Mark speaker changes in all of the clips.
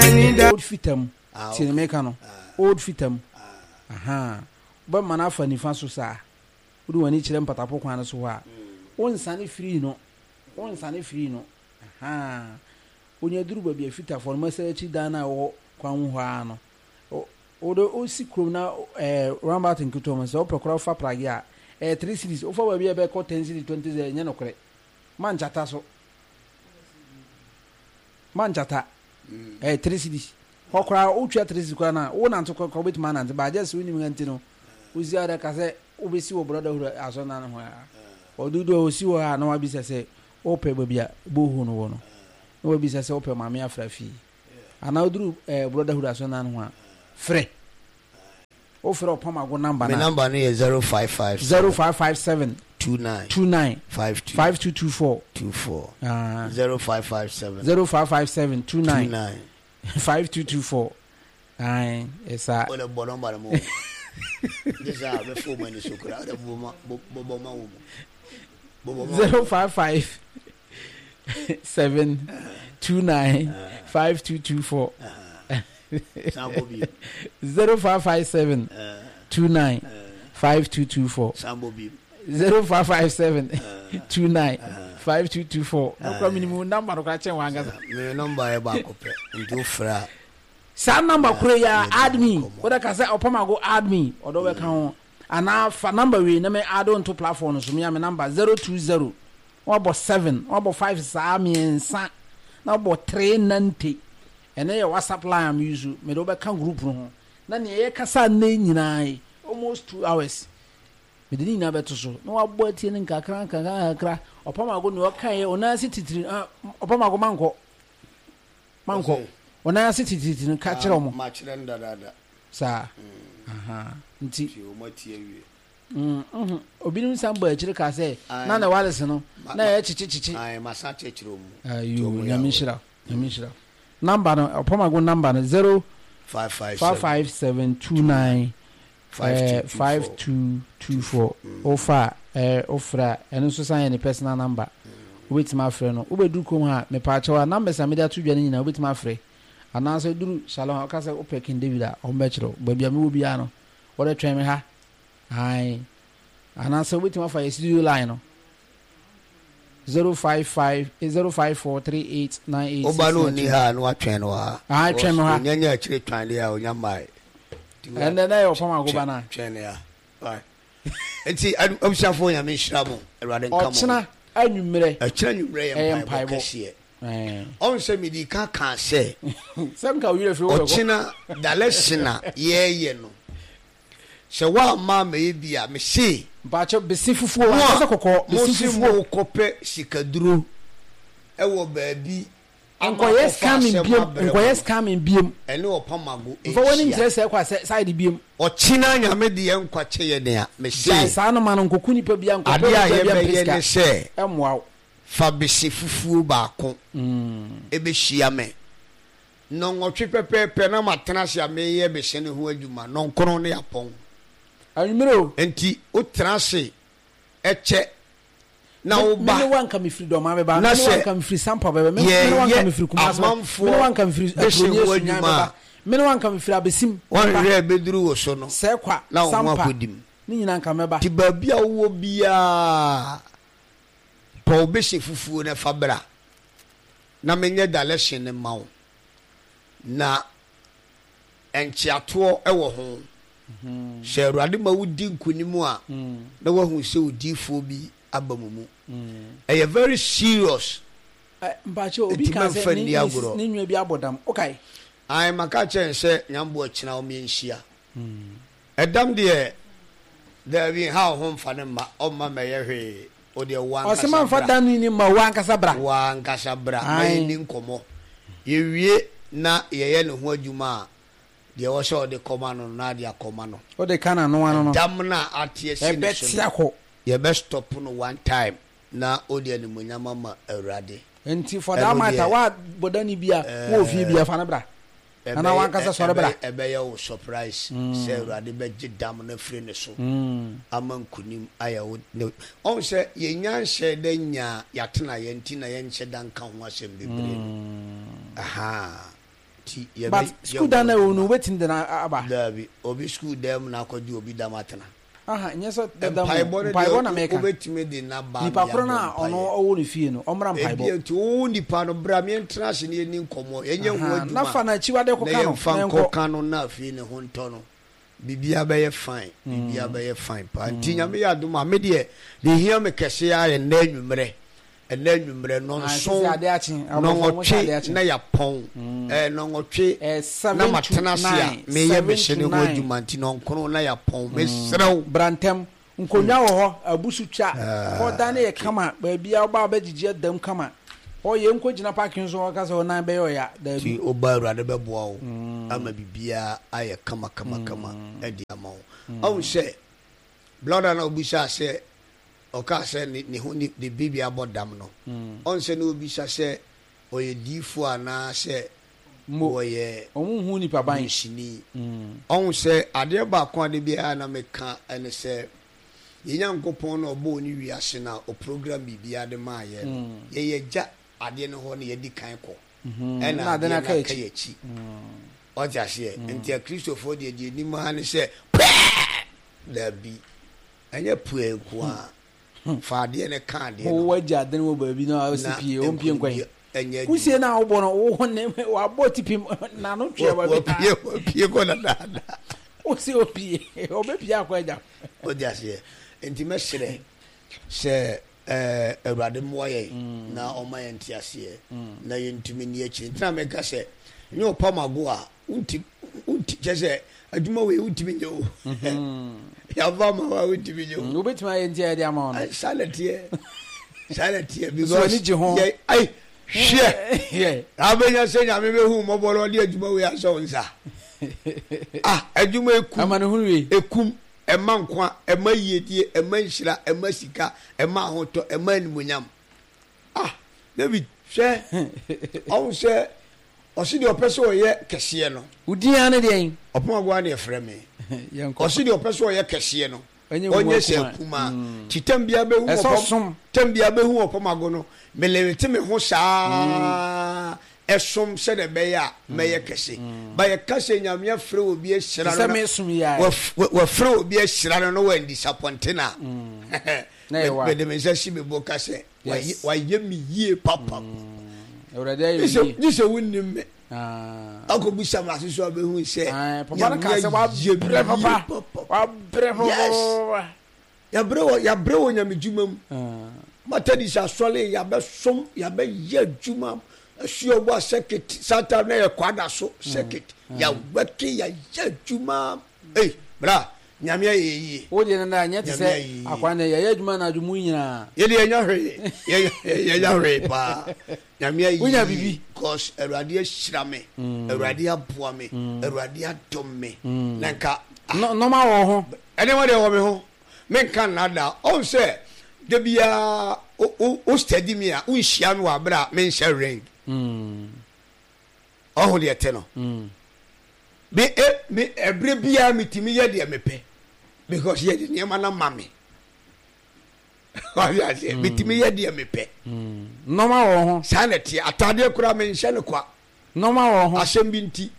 Speaker 1: Old Fitam, tie ne meka no, Old Fitam, ahaa, wobɛma no afa nifa so saa, wode w'ani kyerɛ mpatapo kwan no so hɔ a, wonsane firii no, wonsane firii no, ahaa, wonya duru baabi a Fitafoɔ no, mɛsɛ akyi dan no a ɛwɔ kwan ho hɔ ara no, wode wosi kurom na ɛɛ roundabout nketewa mu, sɛ wopɛ koraa wofa pragea a, ɛyɛ 3 cedis, wofa baabi a ɛbɛkɔ 10 cedis, 20 cedis, ɛnyɛ nokorɛ, mankyata so. Ma nkyata ɛyɛ 3 cedis hɔ koraa wotwa 3 cedis koraa na wo nante kɔ kɔ wobɛtumi anante ba agye sɛ wonim ha nti no wosi ara ka sɛ wobɛsi wɔ brotherhood asɔnna no ho a ɔdodo a ɔsi hɔ a na wabisa sɛ wopɛ baabi a bohu no wɔ no na wabisa sɛ wopɛ maame afra fie anaa woduru eh, brotherhood asɔnna no ho a frɛ Wofrɛ Ɔpamago number no
Speaker 2: a. Me number no yɛ 0557.
Speaker 1: 0557.
Speaker 2: 29.
Speaker 1: 29.
Speaker 2: 52.
Speaker 1: 5224.
Speaker 2: 24.
Speaker 1: Ah.
Speaker 2: 0557.
Speaker 1: 0557 29.
Speaker 2: 29.
Speaker 1: 5224. Ayi, ɛsa.
Speaker 2: O de bɔ number no mu. This a bɛ fo mu ani so kura. O de bɔ ma bɔ bɔ ma wo mu. Bɔ bɔ ma.
Speaker 1: 055 7 29 5224. 0557 29 5224 0557 29 5224 nokora menim wo namba no kora kyɛn wankasa
Speaker 2: me namba yɛ baako pɛ nti wofrɛ a
Speaker 1: saa namba koro yi a add me wode ka sɛ ɔpamago add me ɔdɔ bɛka ho anaa fa namba wei na me add nto platform no so me a me namba 020 wabɔ 7 wabɔ 5 saa mmiɛnsa na wabɔ 3 nante Ɛnɛ yɛ WhatsApp line a me use, mede wo bɛka group no ho na nea yɛkasa nnɛ yi nyinaa yi, almost 2 hours, mede ne nyinaa bɛto so na wabɔ atie no nkakra nkakra nkakra. Ɔpamago nea ɔkaeɛ, ɔnan ase titiri, ah, Ɔpamago mankɔ, mankɔ, ɔnan ase titiri no ka kyerɛ ɔmo.
Speaker 2: Makyerɛ no dadaada.
Speaker 1: Saa, aha, nti.
Speaker 2: Nti ɔmo atie awie.
Speaker 1: Obinom san bɔ akyire kaa sɛ, na ne wales no, na ɛyɛ kyekye kyekye.
Speaker 2: Ae, masan akyerɛkyerɛ ɔmo.
Speaker 1: Ayo, Nyame nhyira wo. Nyame nhyira wo. Number no, Ɔpɔmago number no, 0 557 29 5224. Wofa a, wofrɛ a, ɛno nso san yɛ ne personal number. Wobɛtumi afrɛ no. Wobɛduru kurom ha a, mepaakyɛw a, numbers a mede ato dwa no nyinaa wobɛtumi afrɛ. Anaasɛ woduru Shalom a, woka sɛ wopɛ King David a, wɔbɛkyerɛ wo. Baabi a mewɔ biara no, wɔde twɛn me ha. Ae. Anaasɛ wobɛtumi afa yɛ studio line no. 055 054 38 98
Speaker 2: Woba no ɔnni ha a na watwɛn no wɔ ha.
Speaker 1: Ah, twɛn me ha.
Speaker 2: Ɔnya nya akyire twan deɛ a ɔnya mmae.
Speaker 1: Ɛnɛ na yɛ ɔpam agoba no a.
Speaker 2: Twɛn no ya. Nti abusuafoɔ Nyame nhyira mo. Awurade nka mo.
Speaker 1: Ɔkyena anwummerɛ.
Speaker 2: Ɔkyena anwummerɛ yɛ mpaebɔ kɛseɛ. Ɔn sɛ medi ka kaa sɛ.
Speaker 1: Sɛ nka wo werɛ firi wo bɛkɔ.
Speaker 2: Ɔkyena dalɛsin a yɛɛyɛ no. Sɛ woamma ammɛyɛ bi a, mese.
Speaker 1: Mpakyɛw, bese fufuo anaasɛ kɔkɔɔ? Bese fufuo.
Speaker 2: Mo a mose morekɔpɛ sikaduro wɔ baabi ama
Speaker 1: Nkɔyɛ
Speaker 2: akɔfa
Speaker 1: scamming
Speaker 2: asɛm
Speaker 1: biom,
Speaker 2: abrɛ mo
Speaker 1: nkɔyɛ
Speaker 2: no,
Speaker 1: scamming biom.
Speaker 2: ɛne ɔpamago
Speaker 1: Mfa w'ani
Speaker 2: nhyia.
Speaker 1: nkyerɛ sɛɛ kɔ asɛ side biom.
Speaker 2: Ɔkyena Nyame de yɛn nkwa kyɛ yɛn a, mese.
Speaker 1: Gyae saa no ma no, nkɔku nipa biara, nkɔpɛ
Speaker 2: Adeɛ a
Speaker 1: mogya biara mpɛ
Speaker 2: yɛbɛyɛ
Speaker 1: sika.
Speaker 2: ne sɛ.
Speaker 1: Ɛmmoa wo.
Speaker 2: Fa bese fufuo baako bɛhyia me. Nnɔnwɔtwe pɛpɛɛpɛ na matena ase a mereyɛ me hyɛn ho adwuma, nnɔnkron ne apɔn.
Speaker 1: Anwummere o.
Speaker 2: Enti wotena ase kyɛ na woba.
Speaker 1: Me ne wo anka mefiri Dɔmaa bɛba,
Speaker 2: Na
Speaker 1: me ne wo
Speaker 2: sɛ
Speaker 1: anka mefiri Sampa bɛba, me ne wo anka
Speaker 2: yɛreyɛ
Speaker 1: mefiri Kumasi bɛba, me ne wo
Speaker 2: amanfoɔ
Speaker 1: anka mefiri
Speaker 2: bɛhyɛ
Speaker 1: Aturoni
Speaker 2: ho
Speaker 1: Asunyan
Speaker 2: adwuma
Speaker 1: bɛba,
Speaker 2: a,
Speaker 1: me ne wo anka mefiri Abesim bɛba,
Speaker 2: woanhwehwɛ a ɛbɛduru wo so no,
Speaker 1: Sɛkwa,
Speaker 2: na wo ho
Speaker 1: Sampa,
Speaker 2: akɔdi mu.
Speaker 1: ne nyinaa anka mɛba.
Speaker 2: Nti baabi a wowɔ biara, pɛ wo bɛhyɛ fufuo na fa bra na menyɛ dalɛhyen no mma wo. Na nkyeatoɔ wɔ ho. Sɛ Awurade ma wodi nkonim a, na woahu sɛ odiyifoɔ bi aba mo mu. Ɛyɛ very serious.
Speaker 1: Mpakyɛ obi
Speaker 2: Nti
Speaker 1: kaa sɛ
Speaker 2: mɛmfa
Speaker 1: ne
Speaker 2: nni agorɔ.
Speaker 1: ne nua bi abɔ dam. Wokae?
Speaker 2: Ae, maka akyerɛ no sɛ Nyamboa kyena wɔn yɛnhyia. Ɛdam deɛ, daabi, nha wo ho mfa no mma, ɔmma mmɛyɛ hwee. Wo deɛ wo
Speaker 1: Ɔse
Speaker 2: ankasa
Speaker 1: mamfa
Speaker 2: bra.
Speaker 1: da no ni mma wo ankasa bra.
Speaker 2: Wo ankasa bra ma
Speaker 1: Ae.
Speaker 2: yɛnni nkɔmmɔ. Yɛwie na yɛyɛ ne ho adwuma a, deɛ ɛwɔ sɛ ɔde kɔma no no, na ade akɔma no.
Speaker 1: Wode ka n'ano ano no.
Speaker 2: Ɛdam no a ate asi ne so
Speaker 1: Ɛbɛte
Speaker 2: no,
Speaker 1: akɔ.
Speaker 2: yɛbɛ stop no one time na wode animuonyam ama Awurade.
Speaker 1: Nti for that
Speaker 2: Ɛno
Speaker 1: matter,
Speaker 2: deɛ,
Speaker 1: woabɔ da no bi a, wowɔ fie bi a, fa no bra. Anaa w'ankasa sɔre bra.
Speaker 2: Ɛbɛyɛ wo surprise sɛ Awurade bɛgye dam no afiri ne so ama nkunim ayɛ wo ne. Ɔhu sɛ yɛnnya nhyɛɛ da nyaa yɛatenaeɛ nti na yɛnhyɛ da nka ho asɛm bebree no. Ahaa. Nti yɛbɛ
Speaker 1: But school dan na ɛwɔ no wobɛtumi de no aba?
Speaker 2: Daabi, obi school dan mu na akɔgye obi dam atena.
Speaker 1: Aha, nyɛ sɛ dada mu,
Speaker 2: Mpaebɔ no
Speaker 1: mpaebɔ na
Speaker 2: deɛ
Speaker 1: meka.
Speaker 2: wobɛtumi de no aba
Speaker 1: Nipa
Speaker 2: ama
Speaker 1: korɔ no
Speaker 2: yɛabɔ
Speaker 1: a ɔno
Speaker 2: mpaeɛ.
Speaker 1: ɔwɔ ne fie no, ɔmmra mpaebɔ.
Speaker 2: Ebia nti wo nipa no bra ma yɛntena ase na yɛnni nkɔmmɔ, yɛnyɛ ho
Speaker 1: Aha, na
Speaker 2: adwuma
Speaker 1: fa no akyiwadeɛ
Speaker 2: na
Speaker 1: kɔka no
Speaker 2: yɛmfa
Speaker 1: na yɛnkɔ.
Speaker 2: nkɔka no na afei ne ho ntɔ no. Biribiara bɛyɛ fine, biribiara bɛyɛ fine paa. Nti Nyame yɛ adom a, me deɛ deɛ ɛhia me kɛse ara yɛ nnɛ anwummerɛ, ɛnnɛ anwummerɛ nnɔnson, nnɔnwɔtwe na yɛapɔn, ɛɛ nnɔnwɔtwe na matena ase a meyɛ me hyɛ ne ho adwuma nti nnɔnkron na yɛapɔn, mesrɛ wo.
Speaker 1: Bra ntɛm, nkonnwa wɔ hɔ, abusu twa, hɔ dan no yɛ kama, baabiara woba a wobɛgyegye ada mu kama. Hɔ yɛn nkɔ gyina parking so hɔ ka sɛ wo nan bɛyɛ ɔya, daabi.
Speaker 2: Nti woba Awurade bɛboa wo ama biribiara ayɛ kama kama kama de ama wo. Ɔhu sɛ blɔda no a wobisaa sɛ ɔkaa sɛ ne ne ho ne ne biribi abɔ dam no, ɔhu sɛ na obisa sɛ ɔyɛ diifoɔ anaa sɛ
Speaker 1: Mo,
Speaker 2: wɔyɛ
Speaker 1: wɔn nhu nipa ban.
Speaker 2: dunsini. Ɔhu sɛ adeɛ baako a da biara na meka ne sɛ Yɛn Nyankopɔn no a ɔbɔɔ ne wiase no a ɔprogram biribiara de maa yɛn no, yɛn yɛgya adeɛ no hɔ na yɛdi kan kɔ, ɛna
Speaker 1: Na ade
Speaker 2: adeɛ
Speaker 1: no
Speaker 2: no
Speaker 1: aka
Speaker 2: aka
Speaker 1: akyi.
Speaker 2: yɛn akyi. Ɔte aseɛ? Nti Akristofoɔ deɛ, deɛ ɛnim ara ne sɛ, Puɛɛ! Daabi, ɛnyɛ puɛɛ nko ara. Fa adeɛ no ka adeɛ no ho.
Speaker 1: Wagya ade no wɔ baabi na ɔsi
Speaker 2: Na
Speaker 1: pie, ɔmpie nkwan.
Speaker 2: nkonimdie nyɛ adwuma.
Speaker 1: Kusie no a wobɔ no, wo ne wabɔ tipim n'ano twea baabi.
Speaker 2: Wapue, wapue kɔ dadaada.
Speaker 1: Wosi opie, ɔbɛpie akɔ agya.
Speaker 2: Wode aseɛ? Nti mɛsrɛ sɛ eh, Awurade mmoa yɛn mm. na ɔma yɛn nteaseɛ mm. na yɛntumi nni akyiri. Nti na meka sɛ nyɛ ɔpam ago a wonti wonti kyɛ sɛ adwuma wei wontumi nyɛ o. Mm-hmm. Yɛafa ma wa wontumi nyɛ o.
Speaker 1: Mm, wobɛtumi ayɛ nti a yɛde ama wo no.
Speaker 2: Saa na teɛ. Saa na teɛ
Speaker 1: because
Speaker 2: yɛ ai hwɛ abɛnya sɛ Nyame bɛhu mmɔbɔ na ɔde adwuma wei ahyɛ wo nsa. Ah, adwuma ekum.
Speaker 1: Amanehunu wei.
Speaker 2: Ekum, ɛma nkwa, ɛma yiedie, ɛma nhyira, ɛma sika, ɛma ahotɔ, ɛma animuonyam. Ah, David, hwɛ, ɔhu sɛ ɔsi deɛ ɔpɛ sɛ ɔyɛ kɛseɛ no.
Speaker 1: Wo din ara ne deɛn?
Speaker 2: Ɔpɔn agoa ne ɛfrɛ me. Ɔsi deɛ ɔpɛ sɛ ɔyɛ kɛseɛ no. Ɔnyɛ sɛ akumaa. Mm. Ti tam biara bɛhu ɔpɔm, tam biara bɛhu ɔpɔm ago no, melerete me ho saa. Mm. Ɛsom sɛdeɛ ɛbɛyɛ a mɛyɛ kɛse. But yɛka sɛ Nyame afrɛ obi ahyira no na wafrɛ obi ahyira no na wandisapɔnte no a, mede me nsa si me bo ka sɛ wayɛ me yie papa. Gye sɛ wonnim me. Akɔbusa me ase so a bɛhu sɛ Nyame ayɛ me yie papa. Yes. Yɛabrɛ wɔ yɛabrɛ wɔ Nyame dwuma mu. Methodist asɔre yɛabɛsom yɛabɛyɛ adwuma asuabu a circuit saa time na yɛ kwada so circuit yɛawɛke yɛayɛ adwuma ei bra Nyame ayɛ yɛ yie.
Speaker 1: Wo deɛ nana nyɛ te sɛ akwan dɛ yɛyɛ adwuma anadwo mu nyinaa.
Speaker 2: Yɛde yɛnya hwee yɛnya hwee paa Nyame ayɛ
Speaker 1: Wonya biribi.
Speaker 2: Cause Awurade ahyira me Awurade aboa me Awurade adom me na nka.
Speaker 1: Nɔɔma wɔ ho.
Speaker 2: Nneɛma deɛ wɔ me ho, menka nnaadaa. Ɔhu sɛ da biara wo steady me a, wonhyia me wɔ abere a menhyɛ ring. Ɔhu deɛ ɛte no. Me e me ɛberɛ biara metumi yɛ deɛ mepɛ because yɛde nneɛma no ama me. Ɔde aseɛ metumi yɛ deɛ mepɛ.
Speaker 1: Nneɛma wɔ ho.
Speaker 2: Saa na ɛteɛ. Ataadeɛ koraa menhyɛ no kwa.
Speaker 1: Nnoɔma wɔ ho.
Speaker 2: Asɛm bi nti,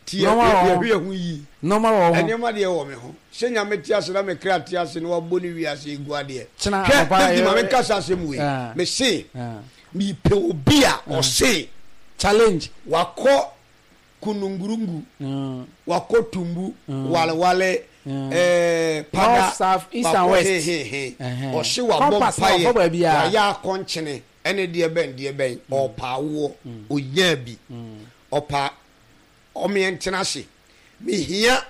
Speaker 2: nti yɛ
Speaker 1: Nnoɔma wɔ ho.
Speaker 2: yɛhwɛ yɛn ho yie.
Speaker 1: Nnoɔma wɔ ho.
Speaker 2: Nneɛma deɛ wɔ me ho. Sɛ Nyame te ase na me kra te ase na wabɔ ne wiase yi gu adeɛ.
Speaker 1: Kyena
Speaker 2: Hwɛ,
Speaker 1: anɔpa
Speaker 2: David ma
Speaker 1: yɛ.
Speaker 2: menka saa asɛm wei.
Speaker 1: Ah.
Speaker 2: Mese,
Speaker 1: Ah.
Speaker 2: mepɛ obi a ɔse.
Speaker 1: Challenge.
Speaker 2: Wakɔ Kunungurungu,
Speaker 1: Mm.
Speaker 2: wakɔ Tumbu,
Speaker 1: Mm.
Speaker 2: Walewale,
Speaker 1: Mm.
Speaker 2: eh, Pada,
Speaker 1: North, South, East and
Speaker 2: wakɔ
Speaker 1: West.
Speaker 2: hehehe.
Speaker 1: Ɛhɛn.
Speaker 2: Ɔse wabɔ
Speaker 1: Compass na
Speaker 2: mpaeɛ,
Speaker 1: ɔfa baabiara.
Speaker 2: wayɛ akɔnkyene. Ɛne deɛ bɛn deɛ bɛn ɔɔpa awoɔ ɔnyaa bi ɔpa ɔmeɛ ntena ase mehia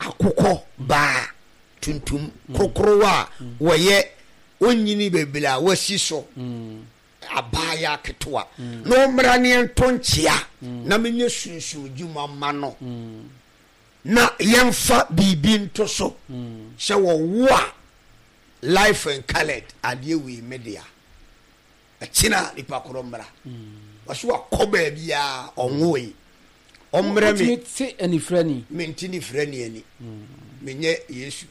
Speaker 2: akokɔ baa tuntum korokorowa a wɔyɛ ɔnyini bebree a wasi so abaayaa ketewa na ɔmmra ne yɛnto nkyea na menyɛ sunsum dwuma ma no na yɛmfa biribi nto so sɛ wɔwo a Life and coloured adeɛ wei me dea. Ɛkyena nipa korɔ mmra. Wɔso wakɔ baabiara ɔnwoe. Ɔmmrɛ me.
Speaker 1: Wotumi te anifirani.
Speaker 2: Mente nifirani ani. Menyɛ Yesu.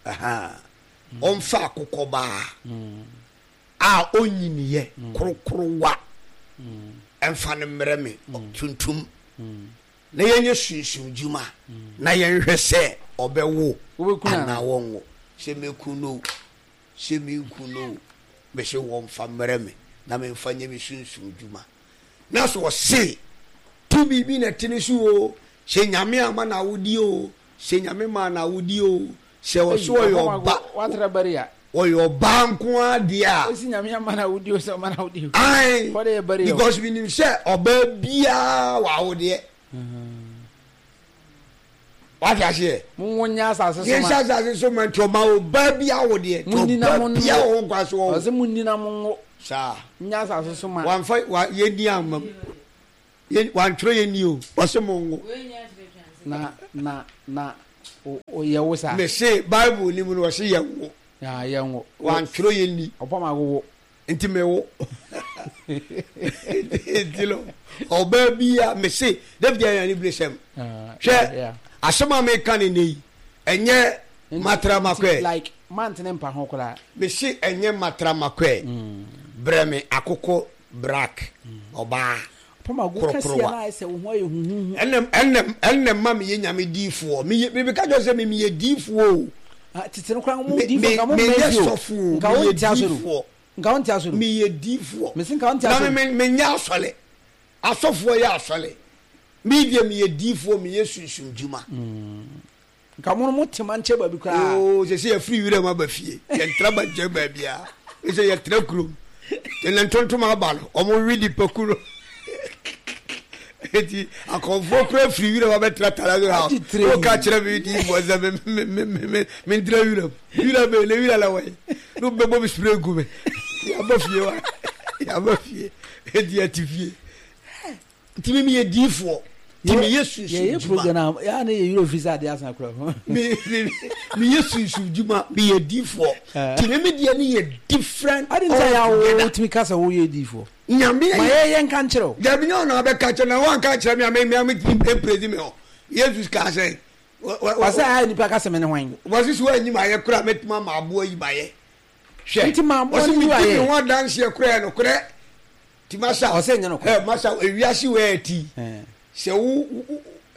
Speaker 2: Ɔmfa akokɔ baa a ɔnyiniiɛ korokorowa ɛmfa no mmrɛ me tuntum. Na yɛnyɛ sunsum dwuma na yɛnhwɛ sɛ ɔbɛwo anaa wɔnwo. Sɛ mɛku no o, sɛ menku no o, mese wɔmfa mmrɛ me na memfa nyɛ me sunsum dwuma. Na sɛ ɔse tumi bi na ɛte ne so o, sɛ Nyame amma no awodeɛ o, sɛ Nyame maa no awodeɛ o, sɛ ɔse ɔyɛ ɔba, ɔyɛ ɔbaa nko ara deɛ a.
Speaker 1: Ɔsi Nyame ama no awodeɛ o, sɛ ɔma no awodeɛ o.
Speaker 2: Ae, because menim sɛ ɔbaa biara wɔ awodeɛ. Wate aseɛ?
Speaker 1: Monwo nyɛ asase so ma.
Speaker 2: Yɛnhyɛ asase so ma nti ɔma ɔbaa bi awodeɛ. Nti ɔbaa bi a ɔwɔ nkwa so ɔwo.
Speaker 1: Ɔsɛ munni na monwo.
Speaker 2: Saa.
Speaker 1: Nyɛ asase so ma.
Speaker 2: Wamfa wa yɛnni amma mu. Yɛ wantwerɛ yɛnni o. Ɔsɛ monwo.
Speaker 1: Na na na yɛ wo saa.
Speaker 2: Mese Bible ni mu no ɔsɛ yɛnwo.
Speaker 1: Yɛnwo.
Speaker 2: Wantwerɛ yɛnni.
Speaker 1: Ɔpam awowo.
Speaker 2: Nti me wo. Nti no ɔbaa bi a mese David ayɛ ne bere sɛm. Hwɛ asɛm a meka ne nne yi ɛnyɛ matra makɔɛ.
Speaker 1: Like mantene mpa ho koraa.
Speaker 2: Mese ɛnyɛ matra makɔɛ. Mm. Brɛ me akoko brak ɔbaa. Korokorowa. Ɛnna ɛnna ɛnna ma meyɛ nyame diifoɔ. Meyɛ mebɛka kyerɛ sɛ meyɛ diifoɔ o.
Speaker 1: Tete no koraa mo diifoɔ nka mo mmɛn
Speaker 2: fi o. Meyɛ sɔfo o. Meyɛ diifoɔ.
Speaker 1: Nka wo nte asɔre o.
Speaker 2: Meyɛ diifoɔ.
Speaker 1: Mese nka wo nte asɔre.
Speaker 2: Na me me menyɛ asɔre. Asɔfoɔ yɛ asɔre. Me deɛ meyɛ diifoɔ meyɛ sunsum dwuma.
Speaker 1: Mm. Nka mo no mo te mankyɛ baabi koraa.
Speaker 2: Oo sɛ sɛ yɛfiri wiram aba fie. Yɛntra mankyɛ baabiara. Sɛ yɛtra kurom. Ɛnna ntontom aba no wɔn we nipa kuro. Eti akɔnfoɔ kura firi wiram abɛtra Talazo house. Woka kyerɛ me diifoɔ sɛ me me me me me ntra wiram. Wira bɛn na wira la wɔ yi. No bɛbɔ me spray gu me. Yɛaba fie wa. Yɛaba fie. Eti yɛte fie. Nti me meyɛ diifoɔ. Nti meyɛ sunsum
Speaker 1: dwuma. Yɛyɛ program a yɛa ne yɛ werɛ fi sɛ adeɛ asa koraa.
Speaker 2: Me me meyɛ sunsum dwuma. Meyɛ diifoɔ. Nti me me deɛ ne yɛ different
Speaker 1: Adi nti a yɛ a wotumi ka sɛ woyɛ diifoɔ.
Speaker 2: Nyame
Speaker 1: Ma yɛ yɛ nka nkyerɛ wo.
Speaker 2: Dabi nyɛ ɔna abɛka kyerɛ na wanka kyerɛ me a me me me mprezi me hɔ. Yesu kaa sɛ
Speaker 1: Ɔsɛ a nipa ka sɛ me ne hwan?
Speaker 2: Wɔse sɛ woanyi mayɛ koraa mɛtumi ama aboa yi mayɛ. Hwɛ.
Speaker 1: Nti ma aboa
Speaker 2: no
Speaker 1: yi
Speaker 2: medi
Speaker 1: ayɛ.
Speaker 2: me ho adanseɛ koraa yɛ nokorɛ. Nti masa.
Speaker 1: Ɔsɛ nyɛ nokorɛ.
Speaker 2: Ɛ masa ewiase wɔ ɛti. Sɛ wo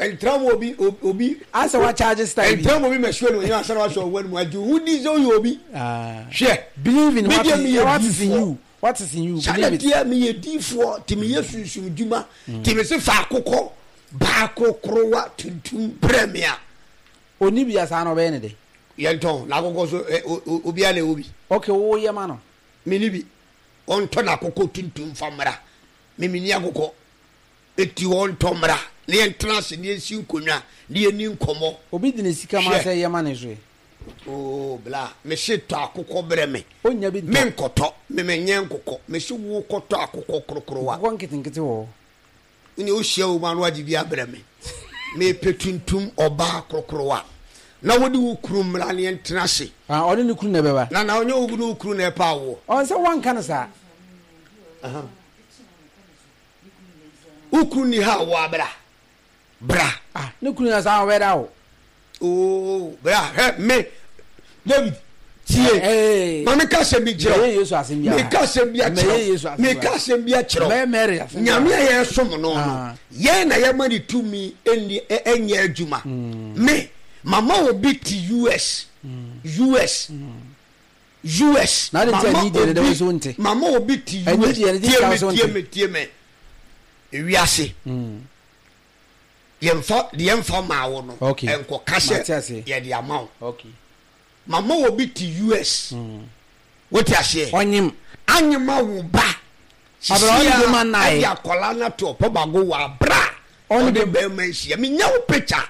Speaker 2: ntra mu obi obi.
Speaker 1: Asɛ wa charge style bi.
Speaker 2: Ntra mu obi mɛsuo ne onyina asɛ na wasɔ ɔwɔ mu agye wo di sɛ woyɛ obi. Hwɛ.
Speaker 1: Believe in what is, what is in you. What is in you? Believe it.
Speaker 2: Sɛ meyɛ diifoɔ nti meyɛ sunsum dwuma nti mese fa akokɔ baa korokorowa tuntum brɛ me a.
Speaker 1: Ɔnni bi a saa na ɔbɛyɛ ne dɛn?
Speaker 2: Yɛntɔn n'akokɔ so ɛ obiara na ɛwɔ bi.
Speaker 1: Ok wo yɛ ma no.
Speaker 2: Menni bi. Ɔntɔ n'akokɔ tuntum fa mmra. Me menni akokɔ. Enti ɔntɔ mmra na yɛntena ase na yɛnsi nkonnwa na yɛnni nkɔmmɔ.
Speaker 1: Obi de ne sika ma sɛ yɛ ma ne nso ɛ?
Speaker 2: Oh bla, mese tɔ akokɔ brɛ me.
Speaker 1: Onnya bi ntɔ.
Speaker 2: Menkɔtɔ, me menyɛ nkokɔ. Mese wo kɔtɔ akokɔ korokorowa.
Speaker 1: Nkokɔ nketenkete wɔ hɔ.
Speaker 2: Wone wohyia wo mu ano agye bi abrɛ me. Mepɛ tuntum ɔbaa korokorowa. Na wode wo kunu mmra ne yɛntena ase.
Speaker 1: Ah, ɔne ne kunu na ɛbɛba.
Speaker 2: Na na ɔnyɛ wo ne wo kunu na ɛpɛ awoɔ.
Speaker 1: Ɔn sɛ woanka no saa.
Speaker 2: Wo kunu ni ha awoɔ abra. Bra.
Speaker 1: Ah, ne kunu yɛ saa ɔbɛda o.
Speaker 2: Oo, bra, hwɛ me. David, tie.
Speaker 1: Hey.
Speaker 2: Ma me ka asɛm bi kyerɛ wo.
Speaker 1: Mɛyɛ Yesu asɛm bi
Speaker 2: Me ka asɛm bi akyerɛ wo. Me ka asɛm bi akyerɛ wo.
Speaker 1: Mɛyɛ Mary asɛm bi.
Speaker 2: Nyame a yɛsom no no,
Speaker 1: ah.
Speaker 2: yɛn na yɛma ne tumi ɛnni ɛnyɛ adwuma.
Speaker 1: Mm.
Speaker 2: Me, mama obi te US.
Speaker 1: Mm.
Speaker 2: US.
Speaker 1: Mm.
Speaker 2: US.
Speaker 1: Na
Speaker 2: mama
Speaker 1: obi,
Speaker 2: mama obi te US. Tie me, tie me, tie me. Ewiase.
Speaker 1: Mm.
Speaker 2: Yɛmfa deɛ yɛmfa maa wo no nkɔka sɛ yɛde ama wo. Mama obi te US. Wote aseɛ?
Speaker 1: Ɔnyem.
Speaker 2: Anyema wo ba. Sisi a ɛde akwadaa no ato ɔpɔbago wɔ abira a ɔde bɛrima nhyia. Menya wo picture.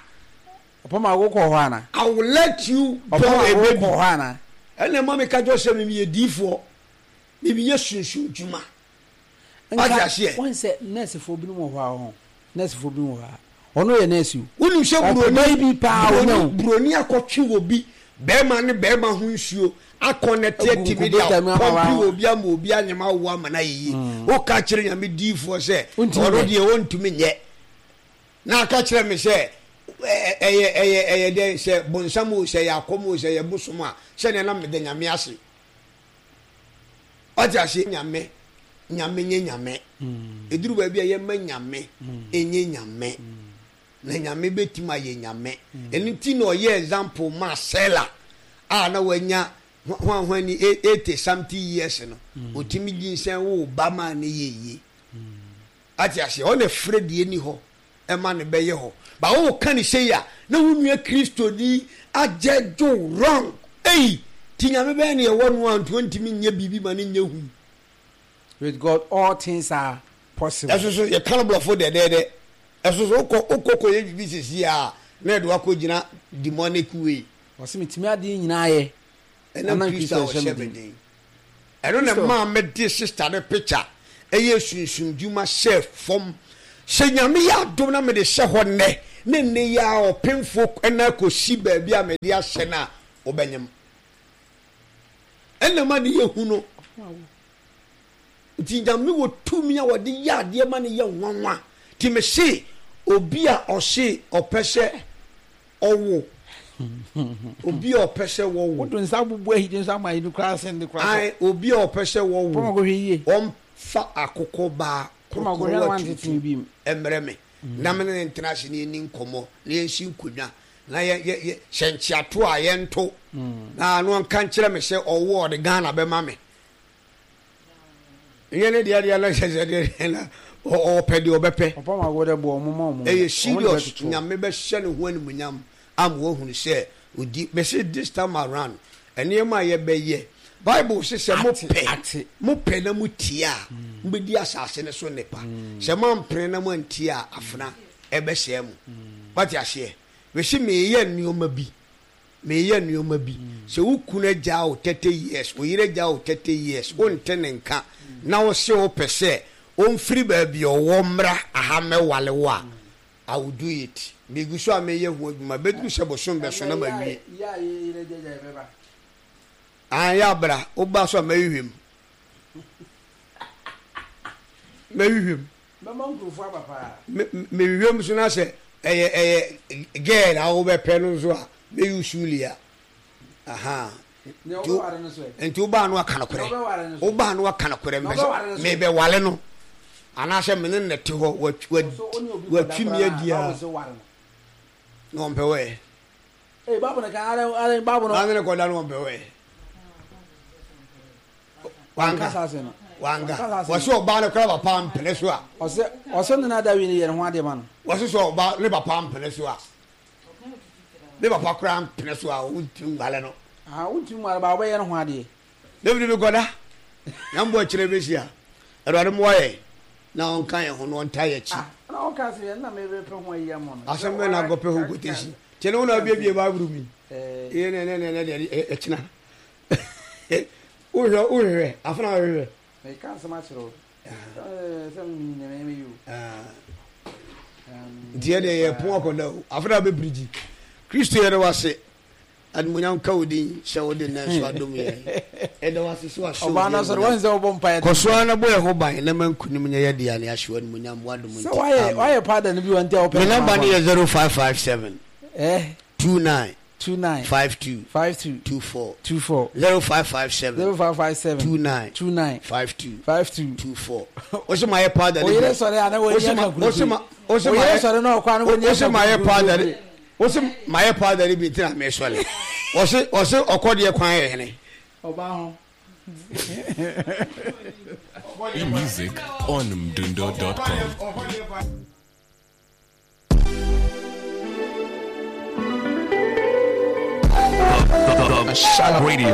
Speaker 1: Ɔpɔmago kɔ hɔ ana?
Speaker 2: I will let you born a baby.
Speaker 1: Ɔpɔmago kɔ hɔ ana?
Speaker 2: Ɛna ɛma mi ka kyerɛ sɛ mi yɛ diifoɔ, mi yɛ sunsun dwuma. Wate aseɛ?
Speaker 1: Wɔn sɛ nɛɛsefoɔ binom wɔ hɔ a ɔho nɛɛsefoɔ binom wɔ hɔ a ɔno yɛ nɛɛse o.
Speaker 2: Wonim sɛ
Speaker 1: Ɔpɛ bi paa
Speaker 2: buroni
Speaker 1: onya o.
Speaker 2: buroni akɔtwe wɔ bi bɛrima ne bɛrima ho nsuo akɔ na te
Speaker 1: Agu
Speaker 2: atumi de
Speaker 1: nkubeeta mu ama
Speaker 2: apɔmpe
Speaker 1: wa.
Speaker 2: wɔ obi ama obi anyem awo ama no ayɛ yie. Woka kyerɛ Nyame diifoɔ sɛ
Speaker 1: Wontumi
Speaker 2: ɔno
Speaker 1: nyɛ.
Speaker 2: deɛ ɔntumi nyɛ. Na aka kyerɛ me sɛ ɛyɛ ɛyɛ ɛyɛ dɛn sɛ bonsam o sɛ ɛyɛ akɔm o sɛ ɛyɛ bosom a sɛdeɛ na meda Nyame ase. Wate aseɛ? Nyame. Nyame nyɛ Nyame. Ɛduru baabi a yɛmma Nyame nyɛ Nyame. Na Nyame bɛtumi ayɛ Nyame. Ɛno nti na ɔyɛɛ example maa Sela a na wanya hwanhwan ni 80 something years no. Ɔtumi nyinsɛn woo ba maa no yɛ yie. Ate aseɛ? Ɔna ɛfrɛ deɛ ɛni hɔ ɛma no bɛyɛ hɔ. Ba wo ka no sei a, na wo nua Kristoni agyɛgye wo wrong. Ei! Nti Nyame bɛn na yɛwɔ no a nti ɔntumi nyɛ biribi ma no nyɛ hu?
Speaker 1: With God all things are possible.
Speaker 2: Ɛso so yɛka no borɔfo dɛdɛɛdɛ. Ɛso so wokɔ wokɔ kɔyɛ biribi sisi a na yɛde wo akɔgyina demonic way.
Speaker 1: Ɔse metumi adeɛ nyinaa yɛ.
Speaker 2: Ɛnam Kristo a ɔhyɛ me den. Ɛno na ɛmaa mede sister no picture ɛyɛɛ sunsum dwuma hyɛɛ fam. Sɛ Nyame yɛ adom na mede hyɛ hɔ nnɛ, ne nnɛ yi ara ɔpemfoɔ nan kɔsi baabi a mede ahyɛ no a, wobɛnyem. Ɛna ɛma no yɛ hu no. Nti Nyame wɔ tumi a wɔde yɛ adeɛ ma no yɛ nwanwa. Nti mese obi a ɔse ɔpɛ sɛ ɔwo, obi a ɔpɛ sɛ wɔwo.
Speaker 1: Woto nsa bubu ahidi nso ama ayi no koraa sen de koraa.
Speaker 2: Ae, obi a ɔpɛ sɛ wɔwo, ɔmfa akokɔ baa korokorowa tuntum mmrɛ me na me ne no ntena ase na yɛnni nkɔmmɔ na yɛnsi nkonnwa na yɛ yɛ yɛ sɛ nkyeato a yɛnto na na ɔnka nkyerɛ me sɛ ɔwo a ɔde Ghana bɛma me. Nyɛ ne deɛ deɛ na kyɛ sɛ deɛ na ɔpɛ deɛ ɔbɛpɛ. Ɛyɛ serious Nyame bɛhyɛ ne ho animuonyam ama wahunu sɛ odi mese this time around nneɛma a yɛbɛyɛ Bible se sɛ mopɛ mopɛ na motie a mobɛdi asase no so nnepa sɛ moampene na moantie a afena ɛbɛsɛe mo wate aseɛ mese meyɛ nneɛma bi Mereyɛ nnoɔma bi. Sɛ wo kunu agyaa wo 30 years, wo yere agyaa wo 30 years, wonte ne nka na wo se wopɛ sɛ ɔmfiri baabi a ɔwɔ mmra aha mmɛwale wo a, I will do it. Megu so a mereyɛ ho adwuma. Ɛbɛduru sɛ bosom bɛso na mawie. Aane, yɛ a bra. Woba so a mɛhwehwɛ mu. Mɛhwehwɛ mu.
Speaker 1: Mɛma nkurɔfoɔ aba paa.
Speaker 2: Me me wiem so na sɛ ɛyɛ ɛyɛ girl a wobɛpɛ no nso a mɛ use lia ahaa.
Speaker 1: Nea wobɛware no so ɛ.
Speaker 2: Nti wobaa no aka nokorɛ.
Speaker 1: Nea wobɛware no so.
Speaker 2: Wobaa no aka nokorɛ
Speaker 1: Nea wobɛware no so.
Speaker 2: Mebɛwale no anaasɛ me ne no te hɔ watwi me adi a.
Speaker 1: Bible se ware no.
Speaker 2: Na ɔmpɛ wɔ ɛ.
Speaker 1: Ee Bible no ka ara ara Bible no.
Speaker 2: Na ne kɔda no ɔmpɛ wɔ ɛ.
Speaker 1: Wanka saa asɛm no.
Speaker 2: Wanka. Wɔsi ɔbaa no kora papa mpene so a.
Speaker 1: Ɔsɛ ɔsɛ ne na Dawid yɛ ne ho adeɛ ma no.
Speaker 2: Wɔsi sɛ ɔbaa ne papa mpene so a. Ne papa kora mpene so a wontumi nwale no.
Speaker 1: Ah wontumi nwale ba wobɛyɛ ne ho adeɛ.
Speaker 2: David mi kɔda. Nyame bɔ kyerɛ bɛhyia. Awurade mmoa yɛn na ɔnka yɛn ho na ɔnta yɛn akyi.
Speaker 1: Ah na ɔka sɛ yɛn na mebɛpɛ ho ayi ama no.
Speaker 2: Asɛm bɛn na akɔpɛ ho quotation. Kyɛ ne wo na abiebie Bible mu yi. Ɛyɛ ne ne ne ne deɛ ɛkyena. Wohwɛ wohwehwɛ afena wohwehwɛ.
Speaker 1: Meka asɛm akyerɛ wo. Sɛ menim nea mɛyɛ o.
Speaker 2: Nti yɛ deɛ yɛ pon akɔda o. Afena bɛpirikyi. Kristo yɛda wo ase. Animuonyam ka wo din sɛ wode nnɛ nso adom yɛn. Yɛda wo ase sɛ wahyɛ
Speaker 1: Ɔbaa no asɔre wɔn sɛ wɔbɔ mpaeɛ.
Speaker 2: Kɔ so ara na bɔ yɛn ho ban na ma nkunim nyɛ yɛ dea na yɛahyɛ wo animuonyam w'adom nti.
Speaker 1: Sɛ wayɛ wayɛ paada no bi wɔ nti a wɔpɛ.
Speaker 2: Me namba no yɛ 0557 29
Speaker 1: 29
Speaker 2: 52
Speaker 1: 52
Speaker 2: 24
Speaker 1: 24
Speaker 2: 0557
Speaker 1: 0557
Speaker 2: 29
Speaker 1: 29
Speaker 2: 52
Speaker 1: 52
Speaker 2: 24 Ose ma yɛ powder ne
Speaker 1: bi. Oyere sɔre a na wani aka kurukuru.
Speaker 2: Ose ma
Speaker 1: Oyere sɔre na ɔkɔ a na wani aka
Speaker 2: Ose ma yɛ powder ne
Speaker 1: kurukuru.
Speaker 2: Ose ma yɛ powder ne bi nti na me sɔre. Ose ose ɔkɔ deɛ kwan yɛ hene.
Speaker 1: Ɔbaa ho.
Speaker 3: Music on mdundo.com. Radio.